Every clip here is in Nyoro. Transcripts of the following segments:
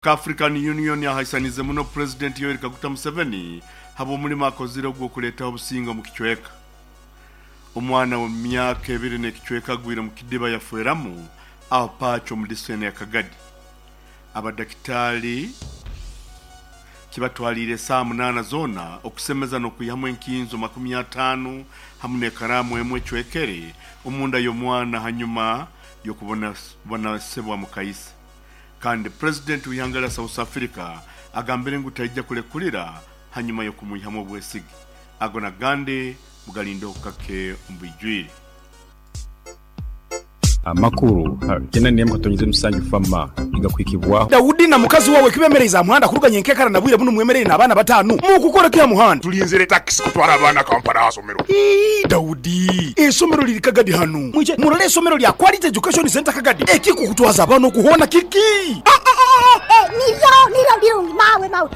African Union ahaisanize muno Pulezidenti Yoweri Kaguta Museveni habw'omulimo akozire ogw'okuleetaho obusinge omu kicweka. Omwana w'emyaka ebiri n'ekicweka agwire omu kidiba yafeeramu aho Pacho omu disitulikiti ya Kagadi. Abadakitaali kibatwaliire esaaha munaana zoona okusemeza n'okwihamu enkinzo 50 hamu n'ekaraamu emwe ecwekere omunda y'omwana hanyuma y'okubonabonesebwa mukaise. Kandi Pulezidenti w'ihanga lya South Africa agambire ngu taija kulekulira hanyuma y'okumwihamu obwesige. Ago n'agandi mugalindeho kake omu bwijwire. Amakuru 81.7 FAMA nigakuhikibwaho. Daudi na mukazi wawe kibemereize aha muhanda kuruga nyenkekara na bwire bunu mwemereire n'abaana batanu. Mukukora ki aha muhanda? Tulinzire takisi kutwara abaana Kampala aha somero. Ii, Daudi, eisomero liri Kagadi hanu. Mwije murole eisomero lya Quality Education Centre Kagadi. Ekikukutwaza abaana okuhoona kiki? Niryo, niryo birungi mawe, mawe.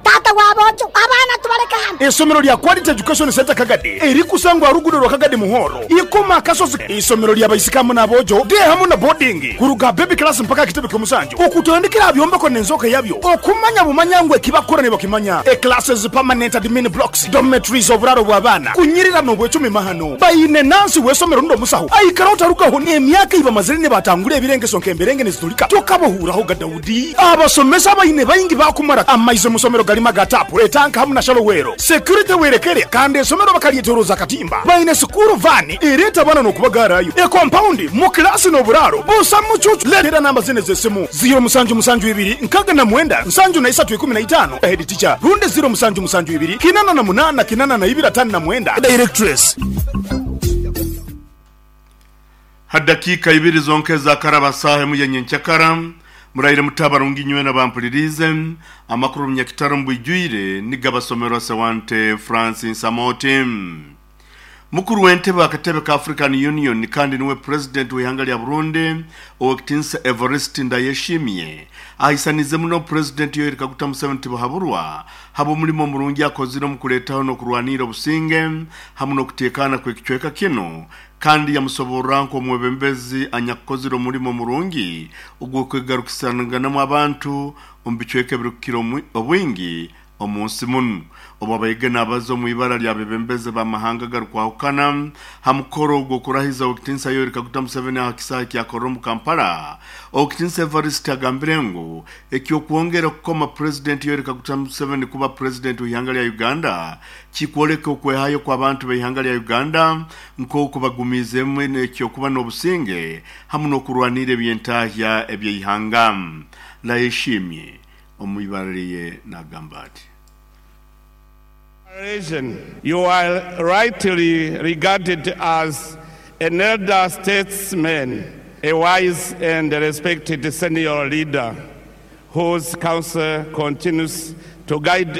Taata wa boojo, abaana tubaleke hanu. Eisomero lya Quality Education Centre Kagadi erikusangwa aha luguudo rwa Kagadi Muhoro, Ikoma Akasozi. Eisomero lya baisiki hamu n'aboojo, day hamu na boarding, kuruga aha baby class mpaka aha kitebe ky'omusanju, okutandikira aha byombeko n'enzooka yabyo, okumanya bumanya ngu ekibakukora nibakimanya. E Classes, permanent admin blocks, dormitories, oburaaro bw'abaana, kunyirira n'obwecumi mahano. Baine nansi w'eisomero rundi omusaho aikaraho tarugaho n'emyaka ei bamazire nibatangura ebirengeso nk'emberenge nizitulika tokabahuuraho ga Daudi. Abasomesa abaine baingi baakumara amaizi omu somero garimu aga taapu, etanka hamu na shallow well. Security werekere kandi esomero bakaryetoroza akatimba. Baine sikuuru vaani ereeta abaana n'okubagaarayo. Ekompaundi mu kilaasi n'oburaaro busa mucuucu. Leetera namba zinu ez'esimu, ziiro musanju musanju ibiri nkaaga na mwenda nsanju na isatu ikumi na itaano, Head teacher, rundi ziiro musanju musanju ibiri kinana na munaana kinana na ibiri ataano na mwenda, Directress. Ha dakiika ibiri zonka ezakaraba saaha emu ya nyenkyakara, muraire muta abarungi inywena abampuliriize, amakuru Runyakitara omu bwijwire nigabasomerwa Sewante Francis Amooti. Mukuru w'entebe akatebe ka African Union kandi niwe Purezidenti w'eihanga lya Burundi, Owekitinisa Evariste Ndayeshimiye ahaisaniize muno Purezidenti Yoweri Kaguta Museveni Tibuhaburwa habw'omulimo omurungi akozire omu kuleetaho n'okurwaniira obusinge hamu n'okuteekaana kw'ekicweka kinu kandi yamusoborra nk'omwebembezi anyakukozire omulimo murungi ogw'okwegarukisanganamu abantu omu bicweka ebirukukira obwingi omu nsi munu. Obu abaige naabaza omu ibara ly'abebembezi b'amahanga agarukwahukana ha mukoro gw'okurahiza Owekitinisa Yoweri Kaguta Museveni aha kisaahe kya Kololo omu Kampala, Owekitinisa Evariste agambire ngu eky'okwongera kukoma Purezidenti Yoweri Kaguta Museveni kuba Purezidenti w'ihanga lya Uganda kikwoleka okwehayo kw'abantu b'eihanga lya Uganda nk'oku bagumiizemu eky'okuba n'obusinge hamu n'okurwanirra eby'entahya eby'eihanga. Ndayeshimye omu ibara lye nagamba ati. You are rightly regarded as an elder statesman, a wise and respected senior leader whose counsel continues to guide.